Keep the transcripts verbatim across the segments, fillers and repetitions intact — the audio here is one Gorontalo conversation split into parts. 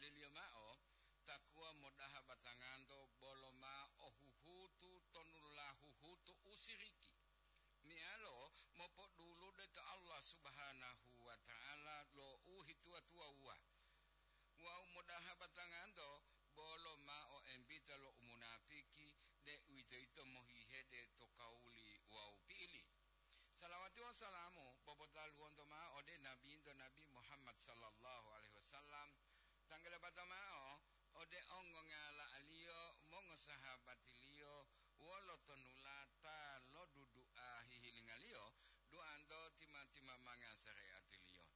Liyo mao, takuwa modaha batanganto bolo ma o huhutu tonulula huhutu u siriki, meyalo mopodulude to Allah Subhanahu wa Ta'ala lo u hituwa-tuwawuwa. Wawu modaha batanganto bolo ma o embita lo umunapiki, deuwitoyito mohihede to kawuli wawu pi'ili. Salawati wawu salamu popotaluwonto mao ode Nabinto Nabi Muhammad sallallahu alaihi wasallam, tanggala bata mao ode ongongala-Liyo, mongosahabatiliyo, wolo tonulata lo dudu'a hihilingaliyo, duanto tima-timamanga sareatiliyo.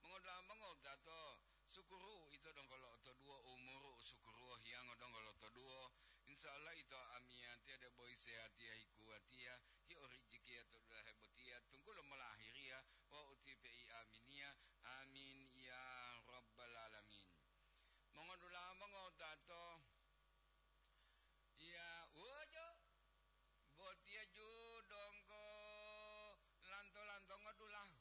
Mongodula'a mongowutato, sukuru ito donggo lo'otoduwo, umuru u sukuru hiyango donggo lotoduwo. Insya Allah ito amiyatiya debo isehatiya hikuwatiya, hiorijikiya to dulahe botiya, tunggulo molahiriya, wawu utipe'i aminiya. Amin ya rabbal alamin. Mongodula'a mongowutato, iya, wojo, botiya ju donggo lanto-lantongo dulahu.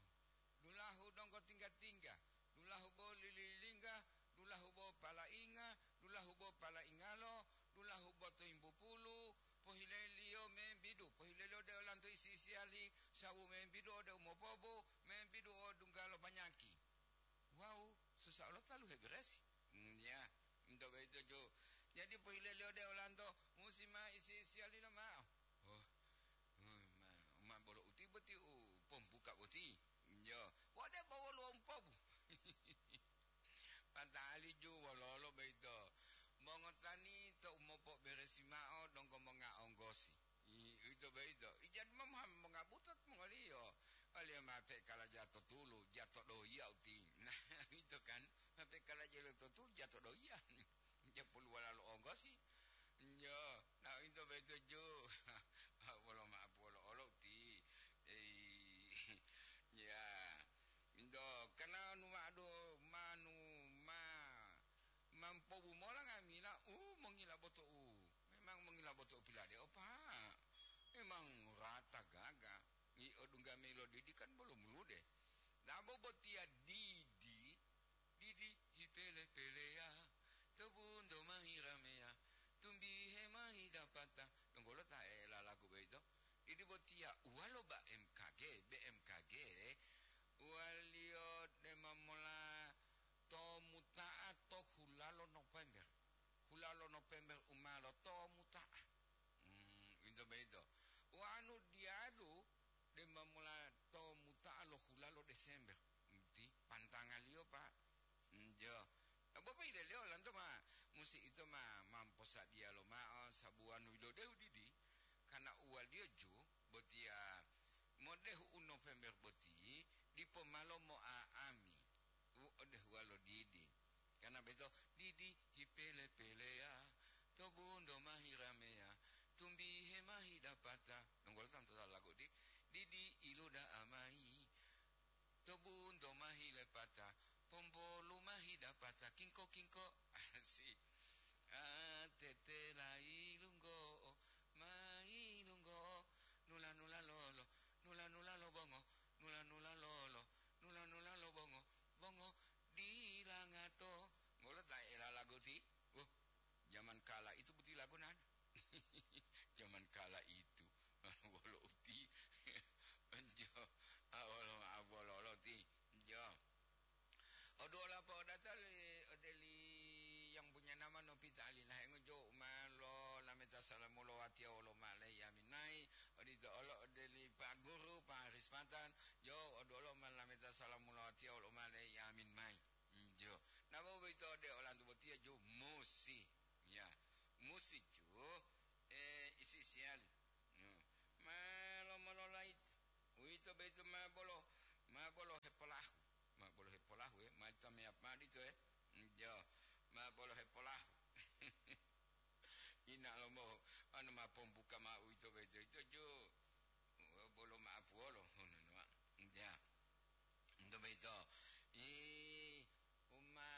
Dulahu donggo tingga-tingga, dulahu bo lililingga, dulahu bo palainga, dulahu bo palaingalo, dulahu bo toimbupulu, pohileliyo membidu, pohileliyo ode olanto isi-isiyali, sawu membidu ode umopobu, membidu o dunggalo banyaki. Wawu susa olo talu heberesi. Hmm, ya, ento boyito ju. Jadi pohileliyo ode olanto, musi ma isi-isiyali lomao. Oh, hmm, ma, ma bolo uti boti u pombuka boti. Yo, wode bo woluwo umpobu. Pata'ali ju wololo boyito. Mongotani to umopoberesi mao donggo monga onggosi. I, uwito boyito. Ijadu ma monga butot mongoliyo. Oliyo ma pekala jato tulu, jato dohiya uti. Nah, uwito kan, ma pekala jelo to tulu, jato dohiya. Japulu walalo onggosi. Yo, na into betuju. Wolo ma'apu wolo olo ti. Ei, ya. Into kana nu ma'adu manu ma mampobu mola ngamila u mongila boto'u. Memang mongila boto'u pilade opa. Memang rata gaga. I odungga melo didi kan bolo mulude. Dabo botiya didi. Didi hipele-peleya, to bunto ma hirameya, tumbihe ma hidapata. Donggo lo ta elalagu boyito? Didi botiya uwalo B M K G, B M K G, uwaliyo dema mola to muta'a to hulalo Nopember. Hulalo Nopember u ma loto muta'a. Hmm, uwito boyito. Wanu diyalu dema mola to muta'a lo hulalo Desember, ti pantangaliyo, Pak. Njo. Bo poileliyo lanto ma musi ito ma mamposadiya lomao sabuwanu yilodehu didi, kana uwaliyo ju botiya modehu u November boti dipo malo mo'a'ami u odehuwa lo didi. Kana beto, didi hipele-peleya, to bunto ma hirameya, tumbihe ma hidapata. Nunggolo tantu ta lagu di, didi iluda'a mayi, to bunto ma hilepata, pompolu ma hidapata, kingko-kingko. Asi. A, tetela ilunggo'o, ma ilunggo'o, nula-nula lolo, nula-nula lo bongo, nula-nula lolo, nula-nula lo bongo, bongo dila ngato. Ngolo ta elalago ti? Wah, zaman kala itu boti lagu nana. Zaman kala itu. Wolo uti. Enjo. Awolo, awololo ti. Enjo. Oduwola po'odata li, ode li yang punya nama Nopita Ali Lahengo jo ma lolameta salamu lo watiya wolo ma'o leyi amin mayi, odito olo ode li Pak Guru, Pak Haris Patan, jo oduwolo ma lolameta salamu lo watiya wolo ma'o leyi amin mayi. Hmm, jo. Nabo boyito ode olanto botiya jo musi. Ya, musi jo, eh, isi-isiyali. Yo. Ma lomololayita. Uwito boyito ma bolo, ma bolo hepolahu. Ma bolo hepolahu, eh. Ma ito meyap mao dito, eh. Jo, ma bolo hepolahu. Ina lomo, anu ma pombuka mao uwito boyito, ito jo. Bolo ma'apu wolo, ngono, no, ya. Ito boyito. I, uma,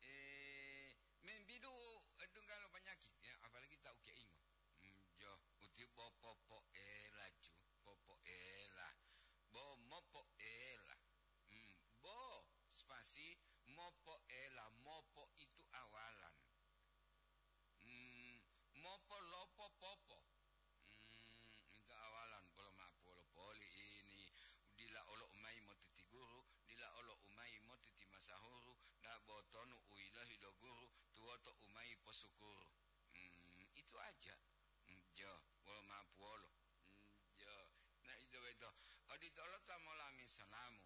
eh, membidu, eh, tunggalo panyakit, ya, apalagi ta ukeingo. Hmm, jo, uti bo popoela ju, popoela. Bo mopoela. Hmm, bo spasi mopoela, syukur. Hmm, itu aja. Hmm, jo, wolo mapuwolo. Hmm, jo. Nah, itu beto. Odito olo ta molami salamu.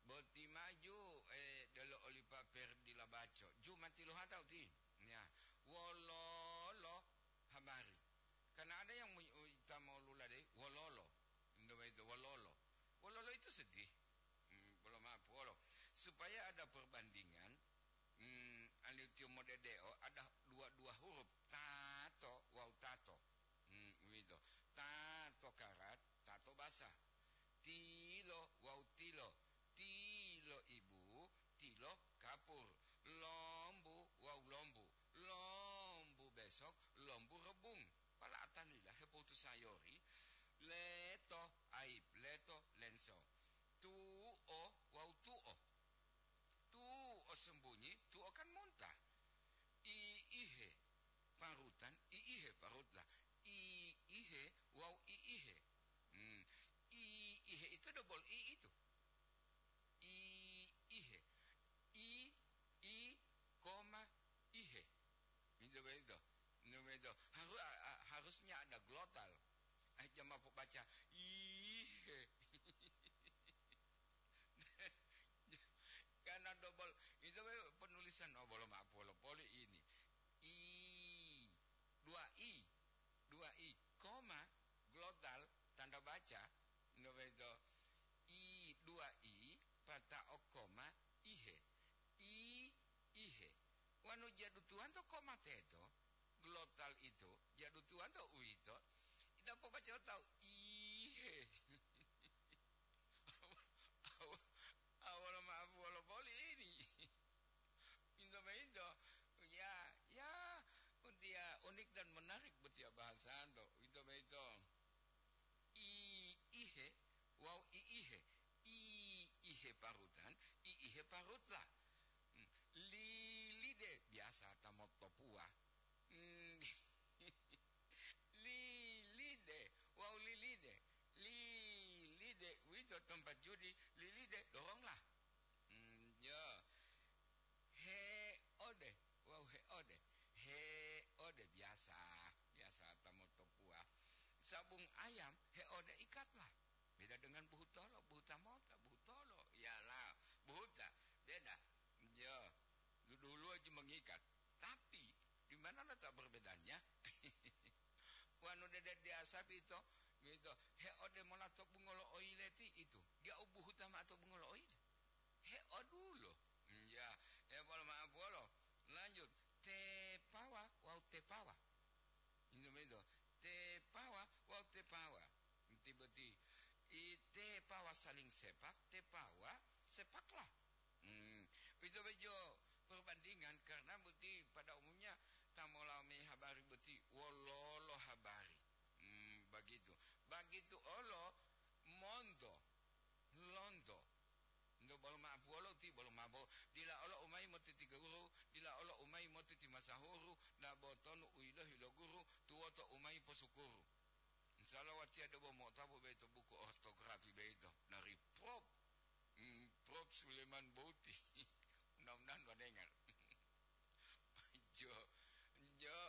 Boti maju, eh, delo oli paper di labaco. Ju mati lo hatau ti. Ya, wololo habari. Karena ada yang mu-, ta molulade, wololo. Indo beto, wololo. Wololo itu sedih. Hmm, bolo mapuwolo. Supaya ada perbandingan, hmm, aliu tiyo modedeo, ada dua-dua huruf, tato wawu tato. Hmm, uwito. Tato karat, tato basa. Tilo wawu tilo. Tilo ibu, tilo kapur. Lombu wawu lombu. Lombu besok, lombu rebung. Pala'atan lila hepotu sayori. Leto aib, leto lenso. Tuo wawu tuo. Tuo sembunyi, tuo kan muntah. I ihe parutan, i ihe parutlah. I ihe wawu i ihe. Hmm. I ihe itu dobol i itu. I ihe. I, i, koma, ihe. Itu begitu. Itu begitu. Haru-, a-, a-, harusnya ada glotal. Eh, jangan mau baca ihe. Karena dobol, itu penulisan, oh, bolo mapuwolo poli ini. I, dua i, dua i, koma, glotal, tanda baca, no beto. I, dua i, pata'o koma, ihe. I, ihe. Wanu jadutuwanto koma teto, glotal itu, jadutuwanto uwito, ita pobaca tahu ihe. Awa-, awa-, awolo mapuwolo poli ini. Into boyito, ya, ya, utiya unik dan menarik botiya bahasanto. Into boyito, i ihe wawu i ihe. I ihe parutan, i ihe parutla. Hmm, lilide biasa ta motopuwa. Hmm. Lilide wawu lilide. Lilide, uwito tempat judi, lilide, doronglah. Hmm, ya. Heode wawu heode. Heode biasa, biasa ta motopuwa. Sabung ayam, heode ikatlah. Beda dengan buhutolo, buhuta mota, buhutolo. Iyalah, buhuta. Beda. Ya, dulu-dulu aja mengikat. Tapi, di mana letak perbedaannya? Wanu dede diasa pito, mito, heode mola to bungolo oile ti itu. Dia ubuhuta ma to bungolo oile. Heodulo. Ya, ya, polo ma'a polo. Lanjut. Tepawa wawu tepawa. Itu begitu. Tepawa wawu tepawa. Inti boti. I tepawa saling sepak, tepawa sepaklah. Hmm, itu bejo perbandingan karena boti pada umumnya ta molami habari boti wololo habari. Hmm, begitu. Begitu olo monto, lonto. Nto bolo ma'a puwolo ti bolo mabo, dila olo umayi moti ti guru, dila olo umayi moti ti masahuru, dabo tonu u yilohi lo guru, tuwoto umayi posukuru. Insya Allah watiya debo mo'otapu boyito buku ortografi boyito dari Prof, hmm, Prof Suleman Boti. Mudah-mudahan wadengar. Jo, jo,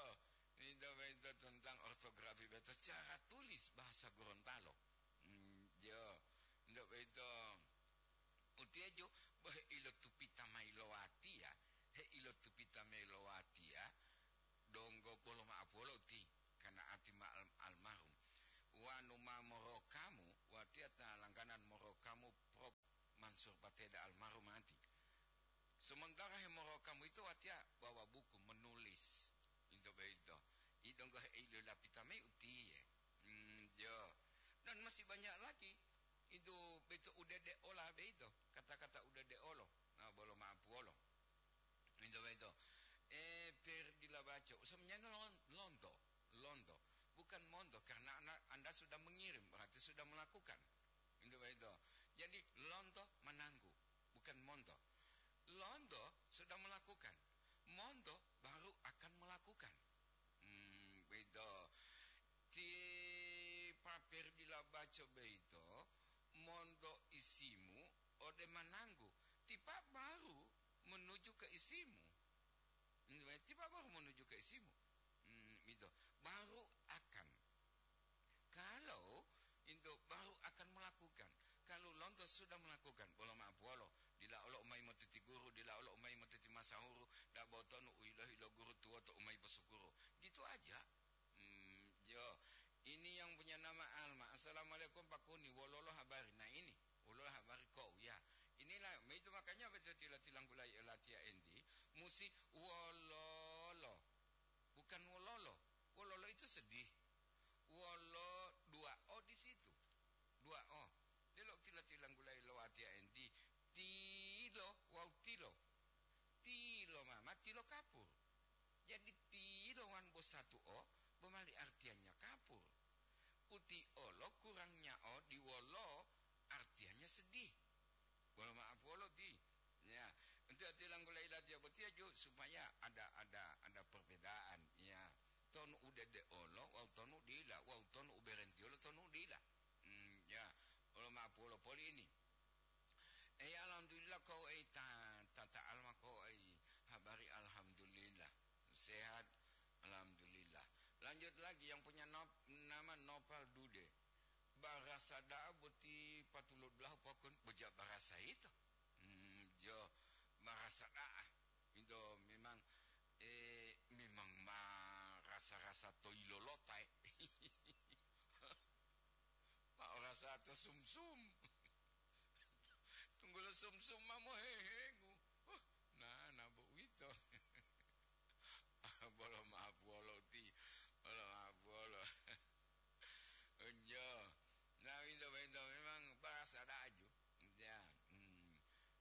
ito boyito tentang ortografi boyito, cara tulis bahasa Gorontalo. Hmm, jo, nto boyito. Utiyeju bo heilotupita mayi lo watiya, heilotupita mayi lo watiya, donggo bolo ma'apuwolo uti, kana ati ma al-, almarhum. Wanu ma morokamu, watiya ta langganan morokamu Prof Mansur Pateda almarhum ati. Sementara hemorokamu ito watiya bawa buku menulis. Into boyito. I donggo heilolapita mayi utiye. Hmm, jo. Dan masih banyak lagi. Itu beto udede ola beito, kata-kata udede olo. Nah, bolo ma'apuwolo. Into beto. Eh, per dilabaco. Usamanya lon-, lonto. Lonto. Bukan monto, karena Anda, Anda sudah mengirim, berarti sudah melakukan. Into beto. Jadi, lonto menanggu, bukan monto. Lonto sudah melakukan. Monto baru akan melakukan. Hmm, begitu. Ti paper dila baco boyito, monto isimu ode mananggu, tipa baru menuju ke isimu. Tiba baru menuju ke isimu. Hmm, itu. Baru akan. Kalau itu baru akan melakukan. Kalau lonto sudah melakukan, bolo maaf wolo. Dila olo umai motiti guru, dila olo umai motiti masahuru, da botonu uilo-ilo guru tuwoto umai posukuru. Gitu aja. Hmm, yo. Ini yang punya nama Alma. "Assalamualaikum Pak Kuni, wololo habari?" Nah, ini, wololo habari kok ya. Inilah, itu makanya betul tila-tilanggulai latiya enti, musi wololo. Bukan wololo. Wololo itu sedih. Wolo dua O di situ. Dua O. Delo tila-tilanggulai lo latiya enti. Tilo wawu tilo. Tilo mama, tilo kapur. Jadi tilo wan bo satu O, bo mali artinya kapur. Uti olo kurangnya O di wolo artinya sedih. Bolo maaf wolo ti. Ya, enti ati langgula ilatiya botiya ju supaya ada, ada, ada perbedaan. Ya, tonu udede olo, wawu tonu dila, wawu tonu uberentiolo, tonu dila. Hmm, ya, bolo maaf wolo poli ini. Eh, alhamdulillah kau, eh, ta-, tata alma kau, eh, habari alhamdulillah. Sehat, alhamdulillah. Lanjut lagi yang punya nop-, nama Nopal Dude. Barasa da'a boti patulodulaho pokon boja barasa ito. Hmm, jo barasa da'a. Ito memang, eh, memang ma rasa-rasa toilolota, eh. Ma o rasa to sumsum. Tunggulo sumsum ma mohehegu. Huh, na, na bo uwito. Bolo maaf wolo ti. Bolo maaf wolo. Enjo. Nah, winto-winto memang bahasa daju. Ya, hmm.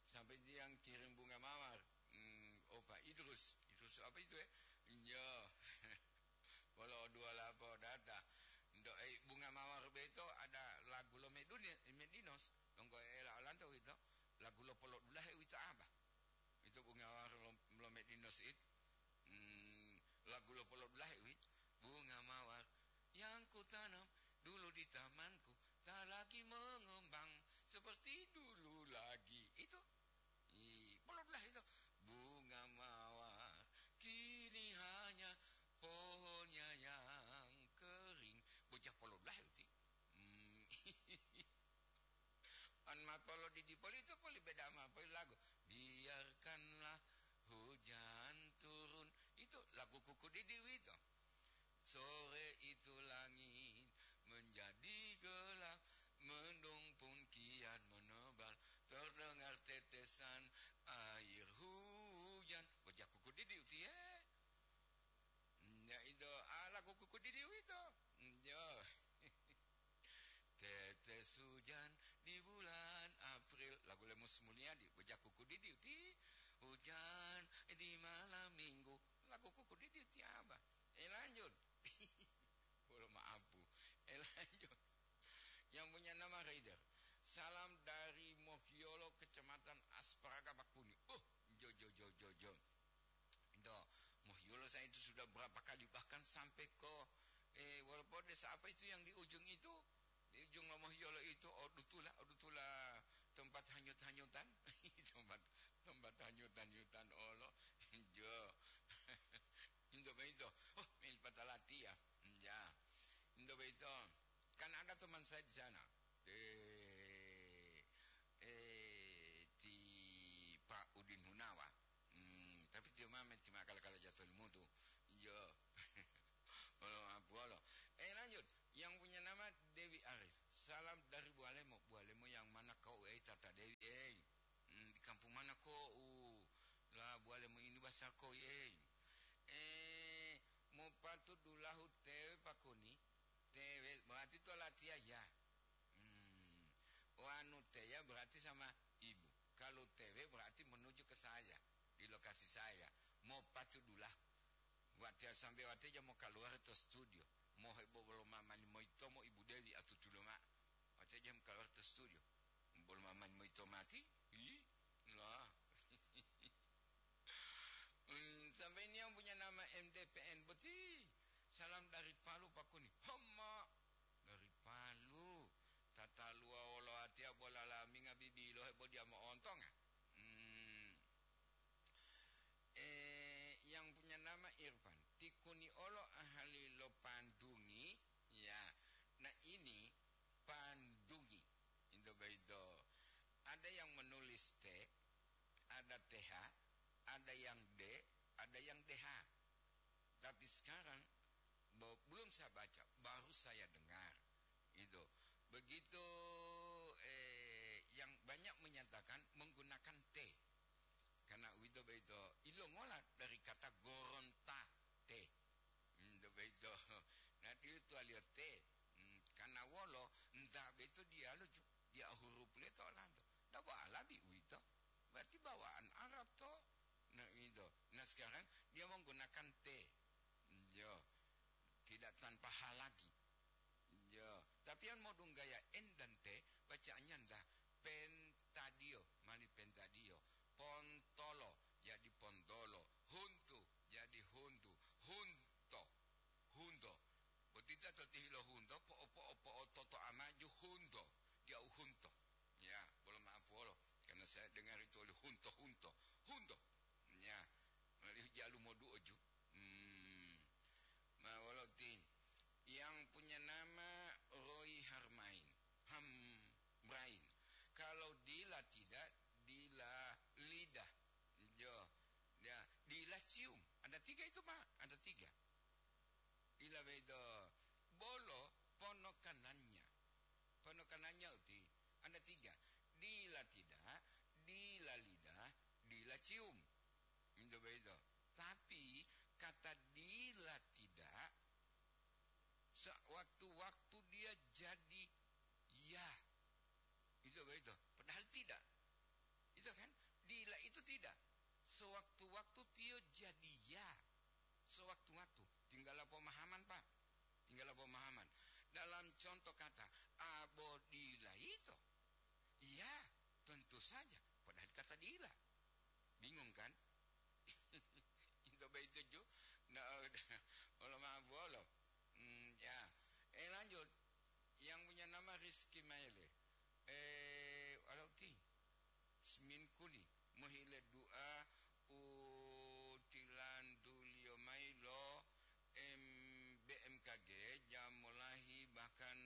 Sampai dia kirim bunga mawar. Hmm, oh, Pak Idrus. Idrus apa itu, ya? Enjo. Wolo o dua lapo data. Ento, eh, bunga mawar beto ada lagu lo Meduni-, Medinos. Donggo ela olanto wito. Lagu lo polodulahe wito apa? Itu bunga mawar lo, lo Medinos it. Hmm, lagu lo polodulahe wit. Bunga mawar yang kutanam dulu di tamanku tak lagi mengembang seperti dulu lagi. Itu. Ih, polodulahe itu. Bunga mawar kini hanya pohonnya yang kering. Bocah polodulahe uti. Hmm. An ma polodidi poli itu poli beda ma poli lagu. Biarkanlah hujan turun. Itu lagu kuku didi wito. Sore itu langit menjadi gelap, mendung pun kian menebal, terdengar tetesan air hujan. Bocah kuku didi uti, eh. Ya, itu, ah, lagu kuku didi wito. Ya. Tetes hujan di bulan April. Lagu le Mus Mulyadi, bocah kuku didi uti. Hujan di malam minggu. Lagu kuku didi uti apa? Eh, lanjut. Bolo maaf, Bu. Eh, lanjut. Yang punya nama Raider. Salam dari Mohiolo, Kecamatan Asparaga, Bakuni. Oh, jo, jo, jo, jo, jo. Itu, Mohiolo saya itu sudah berapa kali, bahkan sampai ke, eh, walaupun desa apa itu yang di ujung itu, di ujung lo Mohiolo itu, Odutula, Odutula tempat hanyut-hanyutan. Tempat, tempat hanyut-hanyutan olo. Jo. Indo boyito, oh, meli patalatiya. Ya. Indo boyito, kan ada teman saya di sana. Eh, eh, ti Pak Udin Hunawa. Hmm, tapi tiyo ma meti ma'akala-kala jato limutu. Iyo. Olo, apuwolo. Eh, lanjut. Yang punya nama Dewi Arif. Salam dari Bualemo. Bualemo yang mana kau, eh, Tata Dewi, eh? Hmm, di kampung mana kau? La Bualemo ini basa kau, eh? Eh, mau patut dulahu tewe pakoni? Tewe, berarti to latiya ya. Hmm. Wanu teya berarti sama ibu. Kalau tewe berarti menuju ke saya, di lokasi saya. Mau patu dula. Watiya sambe watiya mo kaluwari to studio. Mo hebo bolo mamani moyitomo Ibu Dewi atutulo ma'o. Watiya mo kaluwari to studio. Bolo mamani moyito mati. Ih, lah. Hmm, sampai ini yang punya nama M D P N boti. Salam dari Palu, Pak Kuni. Hama. Dari Palu. Tataluwa wolo atiya bola laminga bibilo hebo dia mo'ontonga. Hmm. Eh, yang punya Sekarang, bo-, belum saya baca, baru saya dengar. Itu. Begitu, eh, yang banyak menyatakan menggunakan T. Karena uwito boyito ilongola dari kata goronta T. Hmm, to boyito. Nah, tiyo tuwaliyo T. Hmm, karena wolo, nta boyito diyalu ju-, dia huruf le to olanto. Ndak bo Arabi uwito. Berarti bawaan Arab to. Nah, itu. Nah, sekarang dia menggunakan T. Yo. Tidak tanpa H lagi. Yo. Tapi yang modunggaya N dan T, bacaannya ndah pentadio, mali pentadio. Pontolo, jadi pontolo. Huntu, jadi huntu. Hunto, hunto. Botita to tihilo hunto, po, po, po, toto amaju hunto. Dia u hunto. Ya, bolo maaf wolo. Karena saya dengar itu oleh hunto-hunto. Hunto. Ya, mali jalu moduo ju. Hmm. Ma wolo ti yang punya nama Roy Harmain. Hamrain. Kalau Dila tidak, Dila lidah. Jo. Ya, Dila cium. Ada tiga itu, Pak. Ada tiga. Dila bedo. Bolo ponokanannya. Ponokanannya uti. Ada tiga. Dila tidak, Dila lidah, Dila cium. Itu bedo. Tapi kata Dila tidak, sewaktu-waktu dia jadi ya. Itu begitu. Padahal tidak. Itu kan, Dila itu tidak. Sewaktu-waktu tiyo jadi ya. Sewaktu-waktu. Tinggal pemahaman, Pak. Tinggal pemahaman. Dalam contoh kata, abo Dila itu. Ya, tentu saja. Padahal kata Dila. Bingung kan? Itu begitu ju. Nah, udah. Wolo maaf, wolo. Hmm, ya. Eh, lanjut. Yang punya nama Rizky Maele. Eh, walau ti. Smin Kuli. Mohile du'a u tilantuliyo mayi lo M-, B M K G, jam molahi bahkan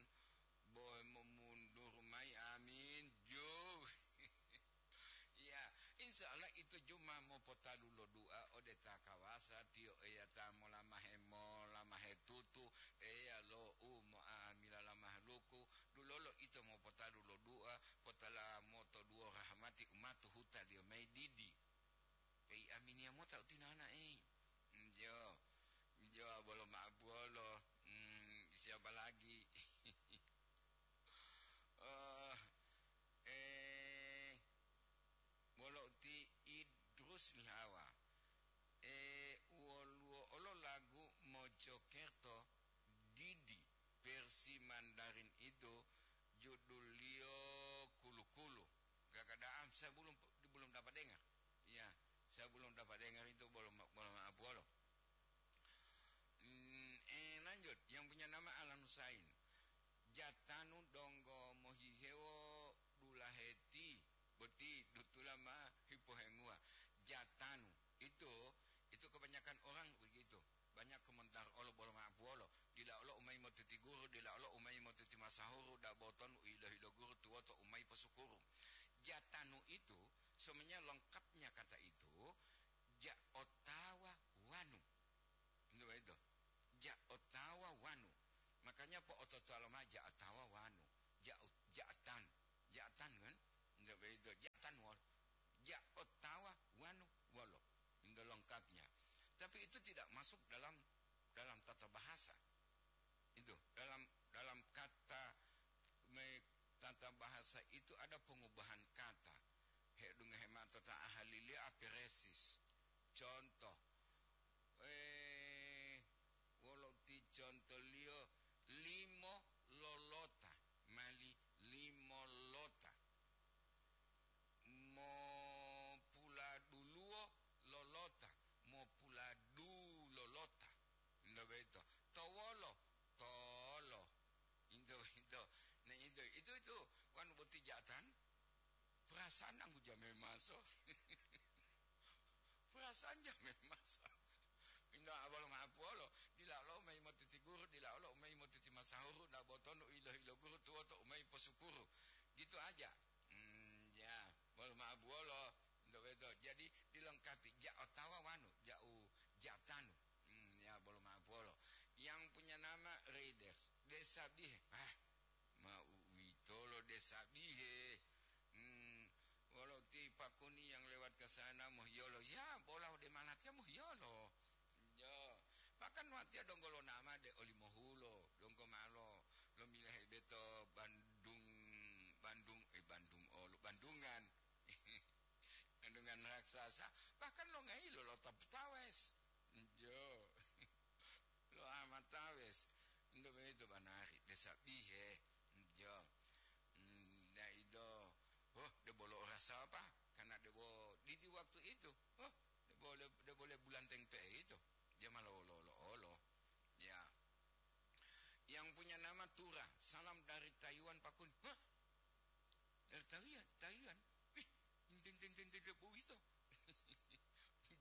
bohe momundur mayi. Amin. Ju. Ya, insya Allah itu ju ma mopotalu lo du'a ode ta kawasa, tiyo Eya ta molamahe, molamahe tutu, Eya lo u mo'amila la mahaluku, dulolo ito mopotalu lo du'a, potala moto duwo rahmati umatu hutaliyo mayi didi. Pei aminiya mota utinana, ei. Njo, njo bolo ma'abuwolo. Hmm, siapa lagi? Oh, eh, wolo uti Idrus Lihawa. Eh, woluwo olo lagu Mojokerto didi versi Mandarin itu, judulliyo Kulu-Kulu. Gagada'am, saya belum, belum dapat dengar. Ya, saya belum dapat dengar itu, bolo, bolo ma'abuwolo. Hmm, eh, lanjut, yang punya nama Alan Husain. Jatanu donggo mohihewo dulaheti boti dutula ma hipohenguwa. Jatanu itu, itu kebanyakan orang begitu. Banyak komentar olo bolo ma'apuwolo. Dila olo umayi motiti guru, dila olo umayi motiti masahuru, da boton u ilo-hilo guru tuwoto umayi posukuru. Jatanu itu sebenarnya lengkapnya kata itu, ja otawa wanu. Nggak itu. Ja otawa wanu. Makanya po'ototowa lomao ja otawa wanu. Ja, ja atan. Ja atan kan? Nggak itu. Ja atan wal. Ja otawa wanu wolo. Itu lengkapnya. Tapi itu tidak masuk dalam, dalam tata bahasa. Itu dalam, dalam kata me-, tata bahasa itu ada pengubahan kata. Hedunga hemata ta ahalilia aperesis. Contoh, eh, wolo ti contoliyo limo lolota, mali limo lota. Mopuladuluwo lolota, mopuladu lolota. Into boyito. Towolo, tolo. Into, into. Nah, into, itu, itu. Wanu boti ja'atan. Perasaan anggu jame maso. Perasaan jame maso. Inda abalo ma'apuwolo, dila olo umayi motiti guru, dila olo umayi motiti masahuru, da botono u ilo-hilo guru tuwoto umayi posukuru. Gitu aja. Hmm, ya, bolo ma'abuwolo, nto beto. Jadi, dilengkapi, ja otawa wanu, ja u, ja tanu. Hmm, ya, bolo maaf. nama Raiders, desa bihe. Ah, ma uwitolo desa bihe. Hmm, wolo ti pakuni yang lewat ke sana mohiyolo. Ya, bola ode malatiya mohiyolo. Yo, bahkan watiya donggo lo nama de olimohulo, donggo malo lo milahe beto Bandung, Bandung, eh, Bandung olo, Bandungan. Bandungan raksasa, bahkan lo ngailo lo Taputawes. Jo. Lo Amatawes. Ndo begitu banari, desa bihe. Jo. Hmm, daido. Oh, de bolo rasa apa? Karena de bo didi waktu itu. Oh, de boleh, de boleh bulan tengpe itu. Dia malah olo-olo-olo. Ya. Yang punya nama Tura, salam dari Taiwan, Pak Kun. Hah? Dari Taiwan, Taiwan. Ih, enten, enten, enten, enten, boyito.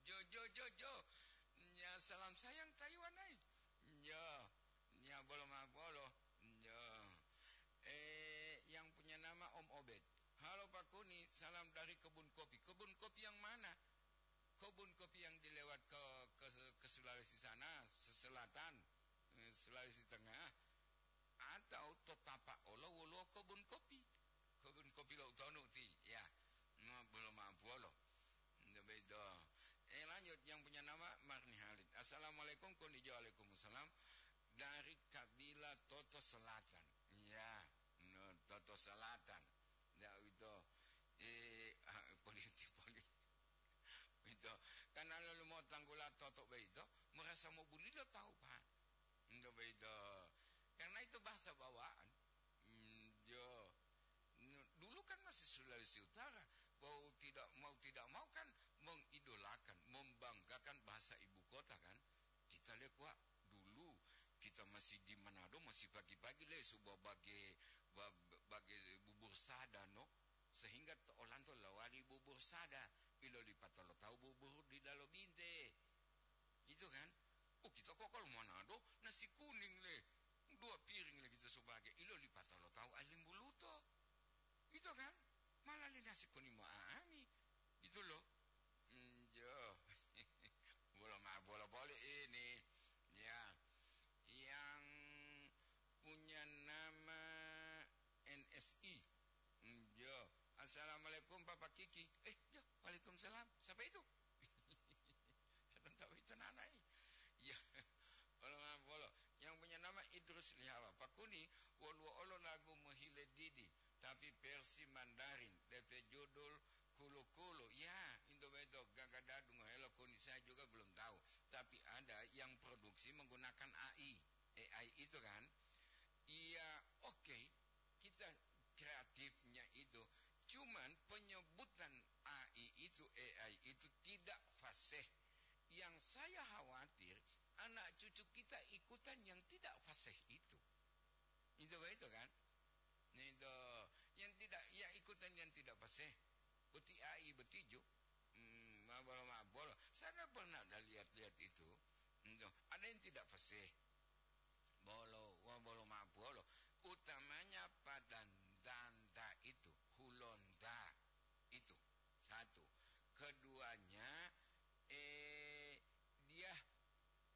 Jo, jo, jo, jo. Ya, salam sayang Taiwan, ai. Ya, ya, bolo ma bolo. Ya. Eh, yang punya nama Om Obed. Halo Pak Kuni, salam dari kebun kopi. Kebun kopi yang mana? Kebun kopi yang dilewat ke, ke, ke Sulawesi sana, se-, selatan, eh, Sulawesi Tengah. Atau to tapa olo woluwo kebun kopi. Kebun kopi lo utonu ti, ya. No, belum mampu olo. Nde bedo. Eh, lanjut, yang punya nama Marni Halid. Assalamualaikum, konijo, waalaikumsalam. Dari Kabila Toto Selatan. Ya, no, Toto Selatan. Ya, itu. Eh, ah, politik, politik. Itu. Karena lalu mau tanggula Toto begitu, merasa mau bulilo tahu, Pak. Nde begitu. Karena itu bahasa bawaan. Hmm, jo. N-, dulu kan masih Sulawesi Utara, mau tidak, mau tidak mau kan mengidolakan, membanggakan bahasa ibu kota kan. Kita lihat, wah, dulu kita masih di Manado, masih pagi-pagi le sebuah bage, ba-, bage bubur sada, no. Sehingga to olanto lawali bubur sada, ilolipata lo tahu bubur di Dalo Binte. Itu kan? Oh, kita kok kalau Manado, nasi kuning le. Dua piring le kita sebagai. Ilolipata lo tahu alim buluto. Itu kan? Malah le nasi kuning mo aani. Gitu loh. Hmm, jo. Bola ma-, bola boleh ini. Ya. Yang punya nama N S I. Hmm, jo. Assalamualaikum, Bapak Kiki. Eh, jo. Waalaikumsalam. Siapa itu? Tentang itu nanai. Ya. Olo ma-, bolo. Yang punya nama Idrus Lihawa. Pak Kuni, woluwo olo lagu mohile didi, tapi versi Mandarin, D P judul Kulu-Kulu. Ya, itu betul. Gagadadu ngohelo Kuni, saya juga belum tahu. Tapi ada yang produksi menggunakan A I, A I itu kan. Iya, oke. Kita kreatifnya itu. Cuman penyebutan A I itu, A I itu tidak fasih. Yang saya khawatir, anak cucu kita ikutan yang tidak fasih itu. Itu begitu kan? Nah, itu yang tidak, ya, ikutan yang tidak fasih. Boti A I boti ju. Hmm, ma bolo, ma bolo. Saya pernah ada lihat-lihat itu. Itu. Ada yang tidak fasih. Bolo, wa bolo ma bolo. Utamanya pada danta itu, hulonta itu. Satu. Keduanya, eh, dia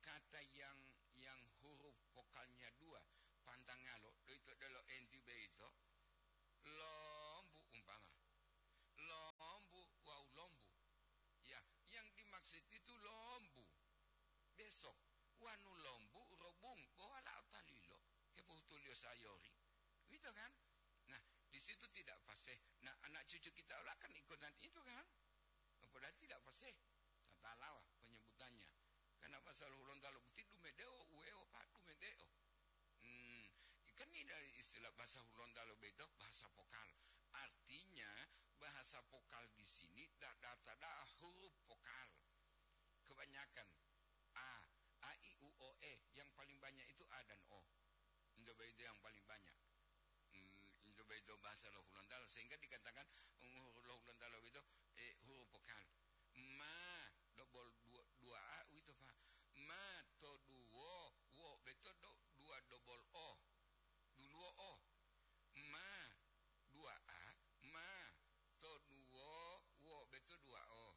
kata yang, yang huruf vokalnya dua, pantangalo, itu adalah enti beito, lombu umpama. Lombu wau lombu. Ya, yang dimaksud itu lombu. Besok, wanu lombu robung, bo walao talilo, hepohutuliyo sayori. Gitu kan? Nah, di situ tidak fasih. Nah, anak cucu kita ola kan ikutan itu kan? Padahal tidak fasih. Tatalawa penyebutannya. Karena pasal Hulontalo boti dumedeo, uweo, Pak, dumedeo. Hmm, kan ini dari istilah bahasa Hulontalo beto, bahasa vokal. Artinya, bahasa vokal di sini da-, data da huruf vokal. Kebanyakan A, A, I, U, O, E. Yang paling banyak itu A dan O. Itu begitu yang paling banyak. Hmm, itu begitu bahasa lo Hulontalo. Sehingga dikatakan, um, lo Hulontalo itu, eh, huruf vokal. Ma, dobol dua, dua A uwito, Pak. Ma to duwo, wo beto do, dua dobol O. Duluwo O. Ma, dua A, ma to duwo, wo beto dua O.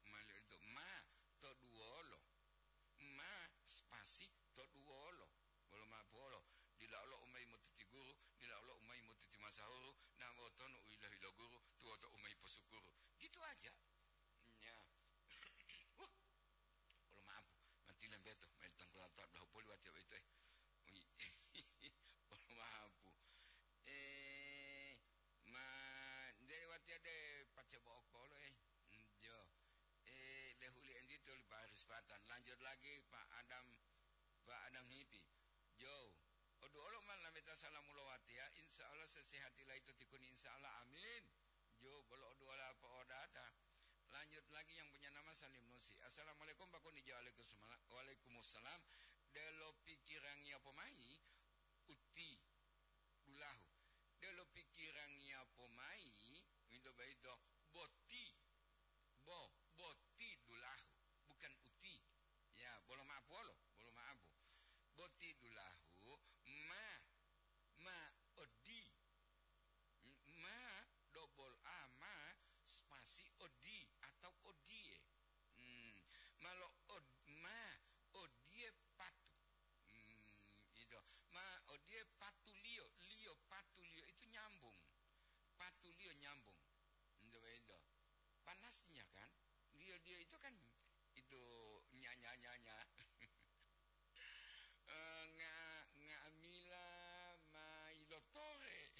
Mali ito, ma to duwolo. Ma spasi to duwolo. sahuru, na wotonu u yilo-yiloguru, tuwoto u ma hiposukuru. Gitu aja. Ya. Wah. Bolo maapu, mati lembeto, main tangkulata, bolo poli watiya boyito, eh. Ui. Bolo maapu. Eh, ma, nde watiya de pace bo'o polo, eh. Mm, jo. Eh, lehuli enti to li Paris Patan. Lanjut lagi, Pak Adam, Pak Adam Hipi. Jo. Oduolo ma lameta salamu lo watiya, insya Allah sesehati laito tikuni, insya Allah, amin. Jo, bolo oduola po'odata. Lanjut lagi yang punya nama Salim Nusi. Assalamualaikum, Pak Kuni. Jo, waalaikumsalam. Waalaikumsalam. Delo pikirangiya pomai, uti dulahu. Delo pikirangiya pomai, winto baito, boti. Bo, boti dulahu. Bukan uti. Ya, bolo maapu olo, bolo maapu. Boti dulahu, ma, ma odi. Ma, double A, ma, spasi odi atau odie. Hmm, malo od-, ma, odie patu. Hmm, itu. Ma, odie patuliyo, liyo patuliyo itu nyambung. Patuliyo nyambung. Itu, itu. Panasnya kan? Liyo-liyo itu kan itu nya-, nya-, nya-, nya. Eh, nga-, nga'amila ma ilotore.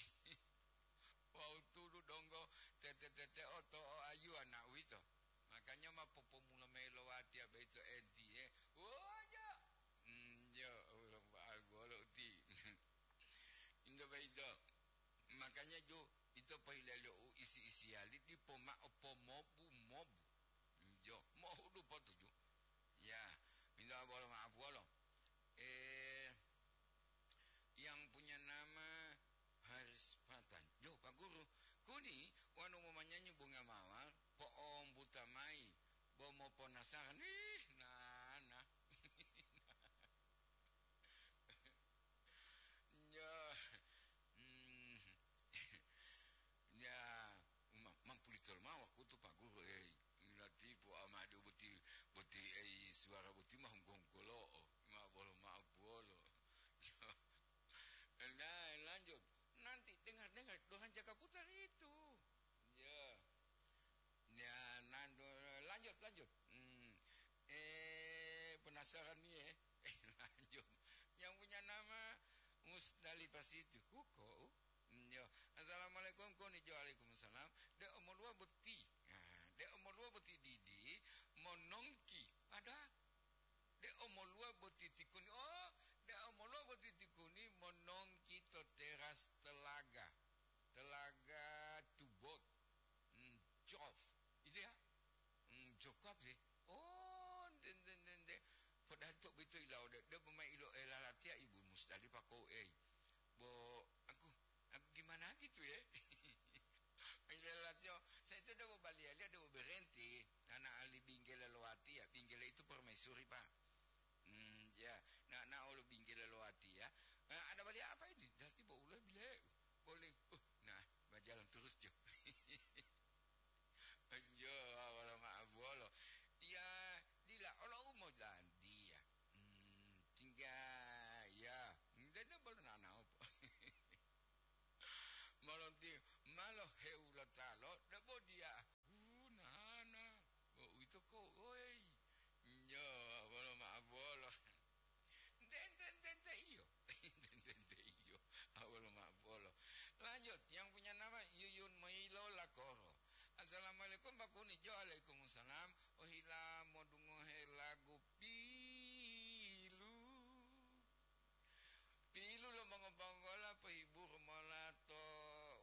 Wawu tudu donggo tete-tete oto o ayuwa na uwito. Makanya ma popomula mayi lo watiya boyito entiye. Wojo! Mm, jo, bolo uti. Into boyito. Makanya ju, ito pohilaliyo u isi-isiyali dipo mao pomobu-mobu. Jo, mohudu potuju. Ya, minta bolo maaf wolo. Eh, yang punya nama Haris Patan. Jo, Pak Guru, kuni wanu momanyanyi bunga mawar, po'ombuta mayi, bo moponasaran. Ih, nana. Ya. Hmm. Ya, ma-, mampulito lomao wakutu, Pak Guru, ei. Latipu amade boti, boti, ei, suara boti ma hungko-hungkolo'o. Ma bolo ma'o puwolo. Nah, lanjut. Nanti dengar-dengar, Tuhan jaga putar itu. Ya. Ya, nandu-, lanjut, lanjut. Hmm. Eh, penasaran nih, ya. Eh, lanjut. Yang punya nama Musdalifah Siti. Huko, uh. Hmm, yo. Assalamualaikum, koni jo. Waalaikumsalam. De omoluwa boti. Nah, de omoluwa boti didi, monongki. Ada. De omoluwa boti tikuni. Oh, de omoluwa boti tikuni, monongki to teras telaga. Telaga Tubot. Hmm, Jof. Itu ya? Hmm, Jokop sih. Oh, nde, nde, nde, nde. Padahal to boyito ilawo de, de pemayi ilo, eh, lalatiya Ibu Musdalifah ko, eh. Bo, aku, aku gimana gitu ya? Ilo lalatiya, saya itu de bo baliya-liya, de bo berhenti. Anak ahli binggela lo watiya, binggela itu permaisuri, Pak. Hmm, ya. Nah, nah, olo binggela lo watiya. Eh, ada baliya apa ini? Dati bo ulo bile. Boleh. Uh, nah, berjalan terus, Jo. Jo, wala ma'abuwolo. Ya, dila olo u molandiya. Hmm, tingga, ya. Dede bolo nanaopo. Molonti, malo hewulatalo, debo diya. Uh, nana. Bo uwito ko, oi. Jo, wala ma'abuwolo. Nte, nte, nte, nte, iyo. Nte, nte, nte, iyo. Awolo ma'o polo. Lanjut, yang punya nama Yuyun Moilo Lakoro. Assalamualaikum, Pak Kuni. Jo, waalaikumsalam. Ohila modungohe lagu pilu. Pilu lo mongo-, bonggola pohiburu mola to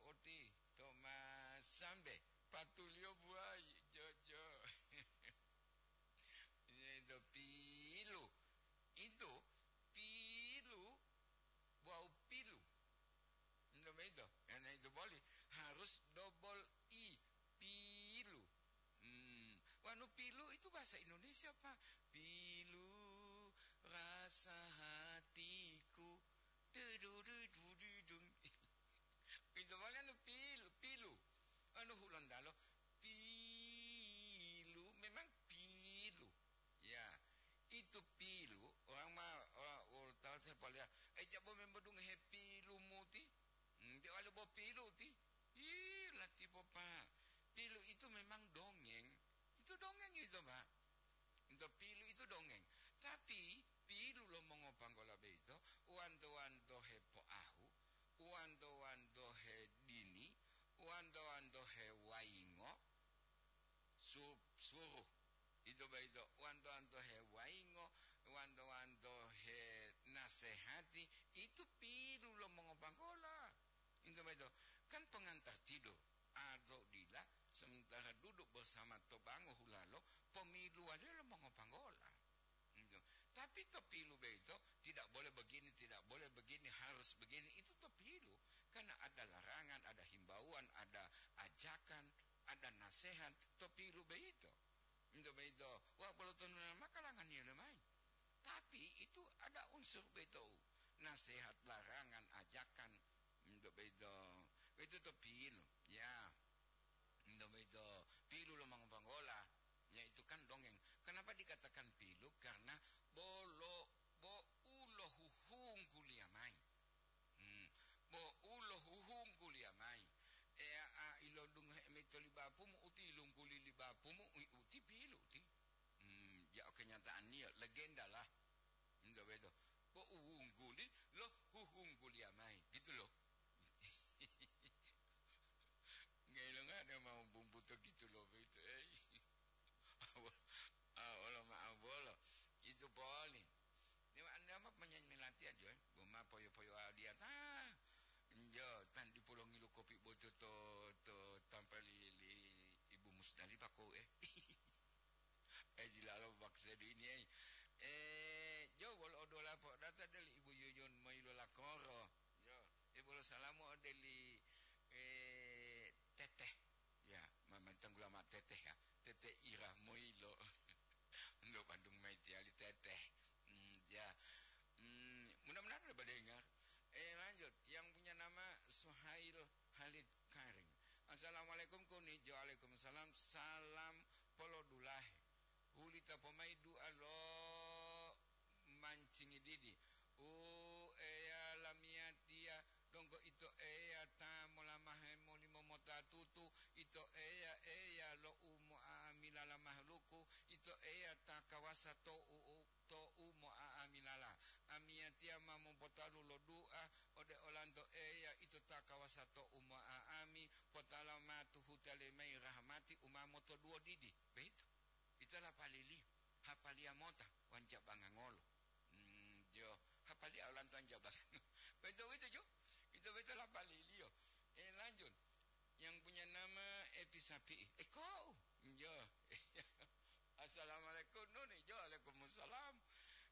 uti, to masambe. Patuliyo buwayi, jojo. Ito pilu. Ito pilu. Wawu pilu. Ito, ito. Karena itu boli harus double I. Pilu. Hmm. Wanu pilu itu bahasa Indonesia, Pak. Pilu rasa hatiku. Dudu, dudu, dudung. Itu boli anu pilu, pilu. Anu Hulontalo, pilu, memang pilu. Ya, itu pilu, orang ma, orang, orang tahu saya boleh, eh, jabo memang dungohe pilu muti. Hmm, dia wali bo pilu, Itu, Pak. Ento pilu itu dongeng. Tapi pilu lo mongopanggola boyito, wanto-wanto hepoahu, wanto-wanto hedini, wanto-wanto hewayingo, su-, suruh. Ito boyito, wanto-wanto hewayingo, wanto-wanto henasehati, itu pilu lo mongopanggola. Ito boyito, kan pengantar tidur. Atau dila, sementara duduk bersama to bango hulalo, pomiluwaliyo lo mongopanggola. Gitu. Tapi to pilu boyito, tidak boleh begini, tidak boleh begini, harus begini, itu to pilu. Karena ada larangan, ada himbauan, ada ajakan, ada nasihat, to pilu boyito. Gitu boyito, wah, bolo tonu maka langaniyo lemayi. Tapi itu ada unsur boyito, nasihat, larangan, ajakan, gitu boyito. Itu to pilu, ya. Ento boyito pilu lo mongopanggola, yaitu kan dongeng. Kenapa dikatakan pilu? Karena bolo, bo u lo huhungguliya mayi. Hmm, bo u lo huhungguliya mayi. Eya a ilodungohe mayi to li bapumu, uti ilungguli li bapumu, u-, uti pilu ti. Hmm, ja o kenyataanniyo, legenda lah. Ento boyito. Bo u wungguli lo huhungguliya mayi, gitu loh. Ngelongade mau bumbuto gitu loh, boyito, ei. Awo-, awo lo ma abolo. Itu poli. Dewa anda ma penyanyi melati aja, eh. Bo ma poyo-poyo adiata. Njo, tan dipolongilu kopi boto to, to tampali li Ibu Musdalifah ko, eh. Eh, dilalo baksedu ini, eh. Eh, jo, wolo odola po data deli Ibu Yuyun moilo lakoro. Jo, eh, bolo salamu odeli, eh, Teteh. Ya, ma-, ma tanggula ma Teteh ya. Teteh Ira moilo. Ndo Bandung mai tiali Teteh. Hmm, ya. Hmm, mudah-mudahan ada dengar. Eh, lanjut. Yang punya nama Suhail Halid Karing. Assalamualaikum, Kunijo. Waalaikumsalam. Salam polodulahe. Hulita pomai dua lo mancingi didi. U Eya lamiyatiya, donggo Ito Eya ta molamahe molimo mota tutu, Ito Eya, Eya lo umo'amila la mahaluku, Ito Eya ta kawasa to u-, to umo'amilala. Amiyatiya ma mopotalu lo dua ode olanto Eya, Ito ta kawasa to umo'a'ami, potala ma tuhuta lemayi rahamati u ma motoduwo didi. Beito. Ito lapaliliyo, hapaliya mota, wanjabanga ngolo. Hmm, jo, hapaliya olanto wanjabanga. Beito, beito, jo. Ito beito lapaliliyo. Eh, lanjut. Yang punya nama Epi Sapi'i. Eh, kau? Jo. Assalamualaikum, Nuni. Jo, waalaikumsalam.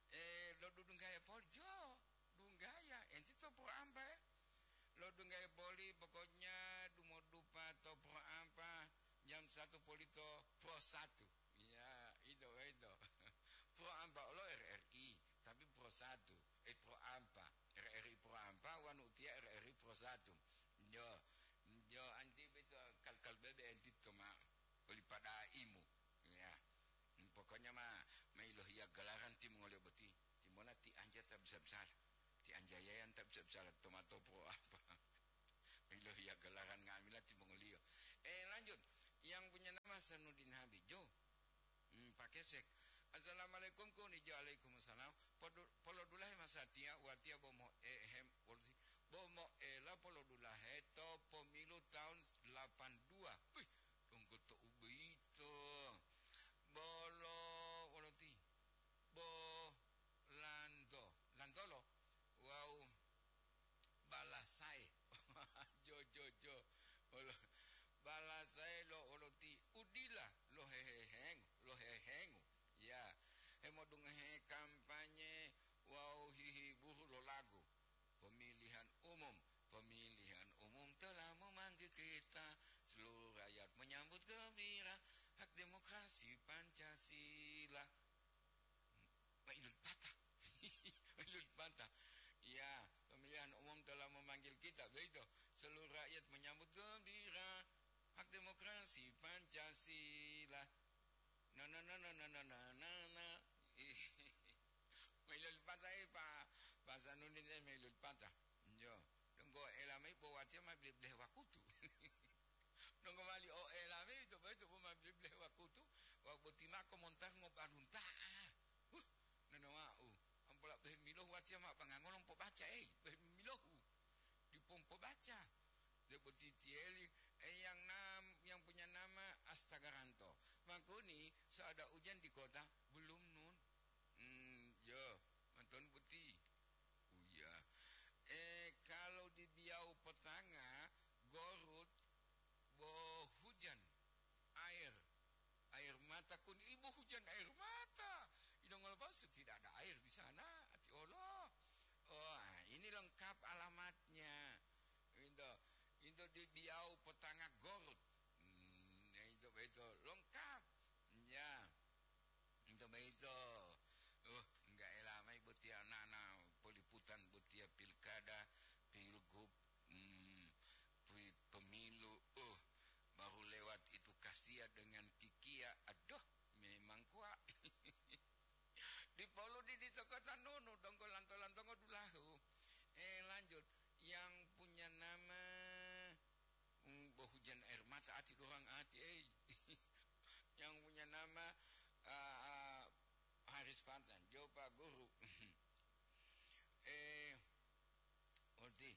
Eh, lo dudunggaya poli, jo. Dunggaya, enti to pro ampa, eh. Lo dunggaya poli, pokoknya dumodupa to pro ampa, jam satu poli to pro satu. Iya, itu, itu. Pro ampa lo R R I, tapi pro satu. Eh, pro ampa. R R I pro ampa, wanu utia R R I pro satu. Jo, jo, anti beto kal-kal bebe anti to ma, oli pada imu. Ya. Hmm, pokoknya ma, ma ilohiya galaran timongoliyo boti. Timola ti anja ta bisa-bisala. Ti anja yayan ta bisa-bisala tomato pro ampa. Ilohiya galaran nga'amila timongoliyo. Eh, lanjut. Yang punya nama Sanudin Habijo. Hmm, Pak Kesek. Assalamualaikum, Kunijo. Waalaikumsalam. Podu-, polodulahe masatiya, watiya bomo ehem, polisi-, bomo ela polodulahe to pomilu tahun delapan dua. Wih, donggo to ubeito. Bolo, woloti. Bo, lanto. Lantolo. Wau. Balasae. Jo, jo, jo. Olo-, balasae lo oloti udila lo hehehengo, lo hehengo. Ya, hemodungohe kampanye wawu hihiburu lo lagu. Pemilihan umum, pemilihan umum telah memanggil kita, seluruh rakyat menyambut gembira, hak demokrasi Pancasila. Mailul patah. Mailul patah. Ya, pemilihan umum telah memanggil kita, begitu. Seluruh rakyat menyambut gembira. Hak demokrasi Pancasila. Na, na, na, na, na, na, na, na, na. Ih. Mailul patah, eh, Pak, Pak Sanudin, eh, mailul patah. Yo. Donggo elami po watiya ma bleh-bleh wakutu. Donggo mali o elami to boyito po ma bleh-bleh wakutu. Wau boti mako montar ngobalunta'a. Huh, nonowa'u, ampola bohe milohu watiya mao bangangolo mpobaca, ei, bohe milohu. Dipo mpobaca. Debo titiyeli, eh, yang nam-, yang punya nama Astagaranto. Makuni, so ada ujan di kota? Belum, Nun. Hmm, yo, manton boti. Oh, iya. Eh, kalau di Biau Petanga, Gorut, bo hujan, air, air mata kun, ibu hujan air mata. Idongol palsu, tidak ada air di sana, ati Allah. Oh, ah, ini lengkap alamatnya. Itu, itu di Biau Petanga Gorut. Hmm, ya itu, itu lengkap. Ya. Ito boyito, uh, enggak ela mayi botiya nana poliputan botiya pilkada, pilgub, hmm, pi-, pemilu, uh, baru lewat itu kasiya dengan kikiya, aduh, memang kuwa. Dipolu di, di toko tanunu, donggo lanto-lantongo dulahu. Eh, lanjut. Yang punya nama Hmm, bo hujan air mata ati dorang ati, ei. Yang punya nama, ah, ah, Haris Pantan, jo Pak Guru. Eh, uti.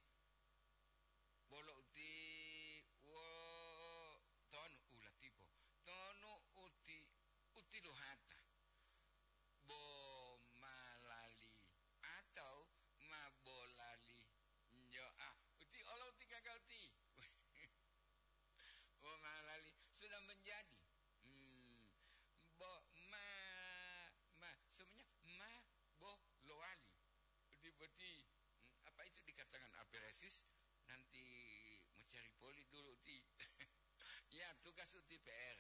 Bolo uti, wo, tonu ulatipo. Tonu uti, uti luhata. Bo malali atau ma bolali. Yo, ah, uti olo uti gagal ti. Bo malali sudah menjadi. Hmm, bo ma, ma, semuanya ma bo lowali. Uti boti, hmm, apa itu dikatakan aperesis? Nanti mau cari poli dulu uti. Ya, tugas uti P R.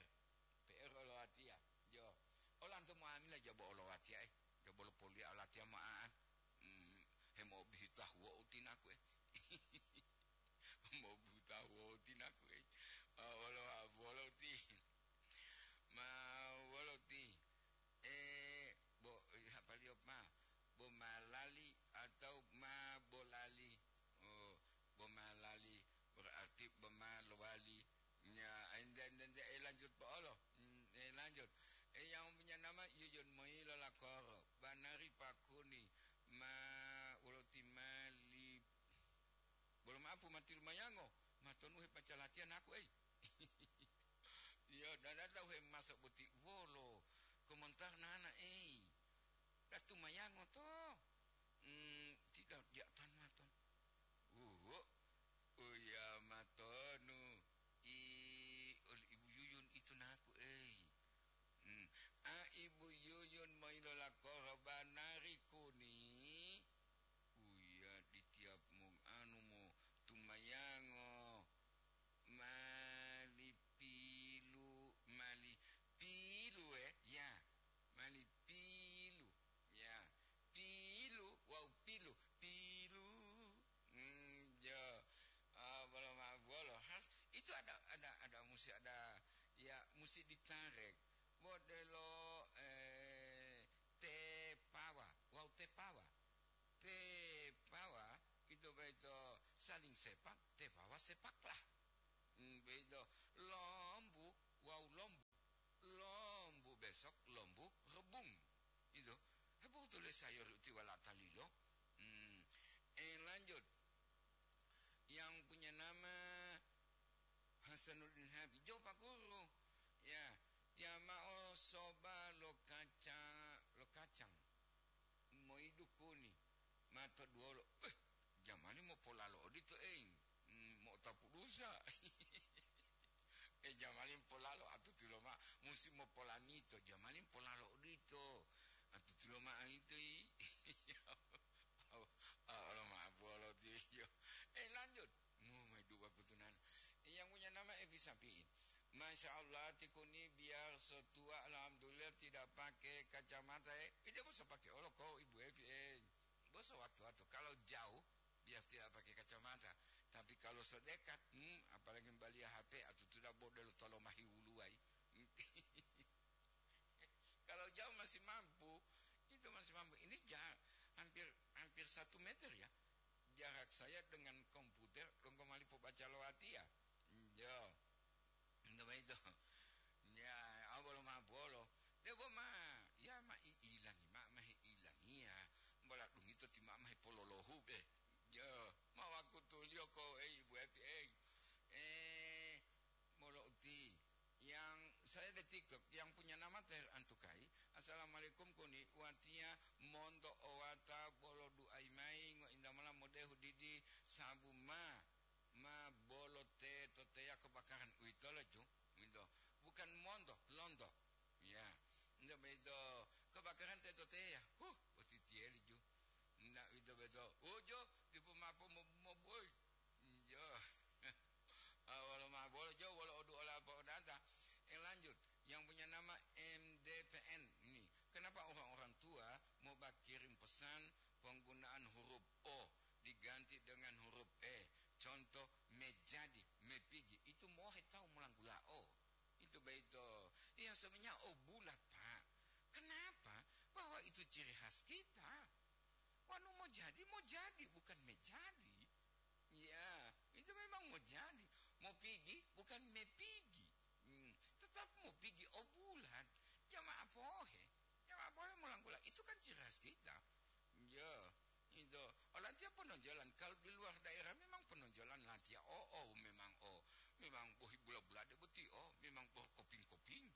P R olowatiya, jo. Olanto moamila jabo olowatiya, eh. Jabo lopoliya olatiya mo'a'an. Hmm, hemo'obihu tahuwo utinaku, eh. Mo'obihu tahuwo utinaku, eh. Ma wolo, wolo uti. Ma wolo uti. Eh, bo, eh, hapaliyo ma. Bo malali atau ma bolali. Oh, bo malali berarti bo malowali. Ya, ende, ende, ende, eh, lanjut po olo. Hmm, eh, lanjut. Eh, yang punya nama Yuyun Moilo Lakoro, Banari Pakuni, ma, wolo ti mali, bolo maapu mati lumayango, matonuhe pacalatiyan aku, ei. Iya, dada tahu he maso boti wolo, komentar nana, ei. Datu mayango to. Hmm, tidak, dia tan maton. Uwo. Uya matonu, i, oli Ibu Yuyun itu naku, ei. Hmm. A, Ibu Yuyun moilola korobanari kuni. Uya di tiap mo anu mo tumayango. Mali pilu, mali pilu, eh? Ya, mali pilu. Ya, pilu, wau pilu, pilu. Hmm, ya. Ah, bolo ma-, bolo has. Itu ada, ada, ada musti ada, ya, musti ditarik. Modelo, eh, tepawa, wau tepawa. Tepawa, itu baito saling sepak, tepawa sepaklah. Hmm, begitu. Lombu, wau lombu. Lombu besok, lombu rebung. Itu. Hebu tulis sayur uti wala talilo. Hmm. Eh, lanjut. Yang punya nama Hasanuddin Habib. Jo, Pak Guru. Ya, dia mao soba lo kaca, lo kacang. Moidu kuni. Mato duwolo. Eh, jamani mopolalo odito, ei. Hmm, mo'otapu dusa. Eh, jamani polalo, atutilo mao, musi mopolamito, jamani polalo odito. Atutilo mao ito, i. Ah, olo ma'apu olo tiyo. Eh, lanjut. Mu, mai dua kutunan. Yang punya nama Evi Sapi'i. Masya Allah, tikuni biar setua, alhamdulillah, tidak pakai kacamata, eh. Eh, dia bisa pakai olo ko, Ibu Evi, eh. Bos sewaktu-waktu, kalau jauh, biar tidak pakai kacamata. Tapi kalau sedekat, hmm, apalagi baliya H P, atau tidak bodol tolo mahi wuluwai. Kalau jauh masih mampu, itu masih mampu. Ini ja-, hampir, hampir satu meter ya. Jarak saya dengan komputer, donggo mali pobaca lo watiya. Yo. Ento boyito. Ya, awolo ma bolo. Olo lohube. Ya, ma wakutuliyo ko, ei, ibu eti, ei. Eh, bolo uti. Yang saya di TikTok, yang punya nama Ter Antukai. "Assalamualaikum kuni, watiya monto owata bolo duai mai ngointa mola modehu didi sabu ma, ma bolo te to teya kebakaran." Uwitolo ju, uwito. Bukan monto, lonto. Ya, nda bedo kebakaran te to teya. Huh, boti tiyeli ju. Nda uwito beto. Ujo, dipo mapo mo-, moboi. Jo. Ah, wolo mabolo jo, wolo odu ola apa odata. Eh, lanjut. Yang punya nama M D P N ini. Kenapa orang-orang tua mau kirim pesan penggunaan huruf O diganti dengan huruf E? Contoh, mejadi, mepigi. Itu mohe tahu melanggula O. Itu beito. Yang sebenarnya O bulat, Pak. Kenapa? Bahwa itu ciri khas kita. Wanu mau jadi, mau jadi, bukan mejadi. Ya, itu memang mau jadi. Mau pigi, bukan mepigi. Hmm, tetap mau pigi O bulat. Jamaah pohe. Jamaah pohe mulang-mulang. Itu kan ciri khas kita. Ya, itu. Oh, latihan penonjolan. Kalau di luar daerah memang penonjolan latihan. Oh, oh, memang oh. Memang bohi bula-bula de boti. Oh, memang boh koping-koping.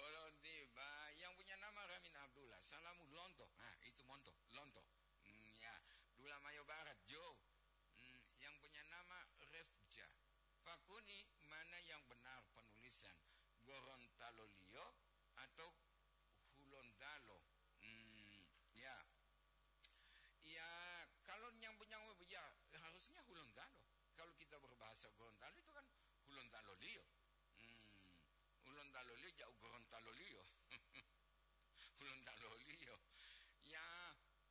Olonti, ba, yang punya nama Ramin Abdullah. Salamu lonto. Nah, itu monto, lonto. Hmm, ya, Dulamayo Barat, Jo. Hmm, yang punya nama Refja. Fakuni, mana yang benar penulisan? Gorontalo Liyo atau Hulontalo? Hmm, ya. Ya, kalau nyambung-nyambung, ya, harusnya Hulontalo. Kalau kita berbahasa Gorontalo itu kan Hulontalo Liyo. Hmm, Hulontalo Liyo, jauh Gorontalo Liyo. Hulontalo Liyo. Ya,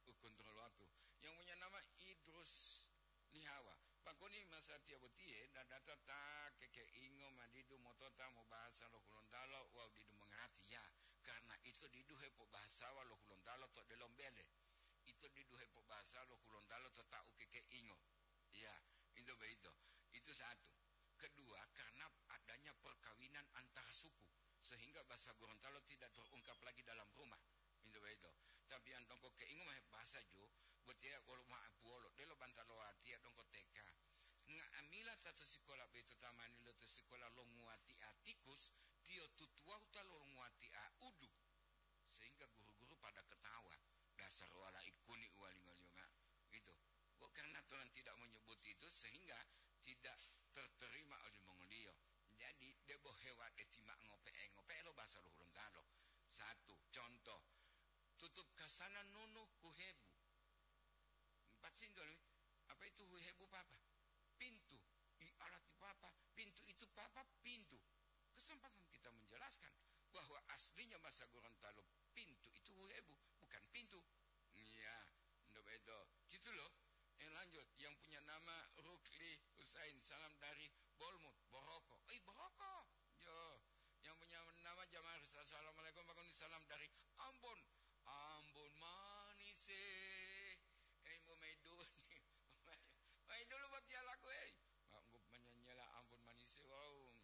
u kontrol waktu. Yang punya nama Idrus Lihawa. Pakoni masatiya botiye, dadata ta kekeingo madidu motota mobahasa lo Hulontalo wawu didu mongarati. Ya, karena ito didu hepobahasawa lo Hulontalo to delombele. Ito didu hepobahasa lo Hulontalo to tau kekeingo. Ya, itu begitu. Itu satu. Kedua, karena adanya perkawinan antara suku, sehingga bahasa Gorontalo tidak terungkap lagi dalam rumah. Itu begitu. Tapi yang dongko keingo mah bahasa jo, botiya wolo ma puwolo, delo bantalo watiya dongko T K. Nga'amila ta to sikola beto tamani lo to sikola lo nguwati atikus, tiyo tutuwahu ta lo nguwati a udu. Sehingga guru-guru pada ketawa. Dasar wala ikuni uwalingoliyo ma'o. Itu. Kok karena Tuhan tidak menyebut itu, sehingga tidak terterima oleh mongoliyo. Jadi, debo hewa de tima ngope'e, ngope'e lo bahasa lo Hulontalo. Satu, contoh. Tutup kasana nunu huhebu. Empat sinto, apa itu huhebu, Papa? Pintu. I alati, Papa. Pintu itu, Papa, pintu. Kesempatan kita menjelaskan bahwa aslinya bahasa Gorontalo pintu itu huhebu, bukan pintu. Iya, ndak begitu. Gitu loh. Eh, lanjut. Yang punya nama Rukli Husain, salam dari Bolmut, Boroko. Eh, Boroko. Yo, yang punya nama Jamaris, assalamualaikum, Pak Koni, salam dari Ambon. Ambon manis, eh. Eh, mau main dulu nih. Main dulu buat dia lagu, eh. Mak, ngup menyanyela Ambon manis, eh, wow.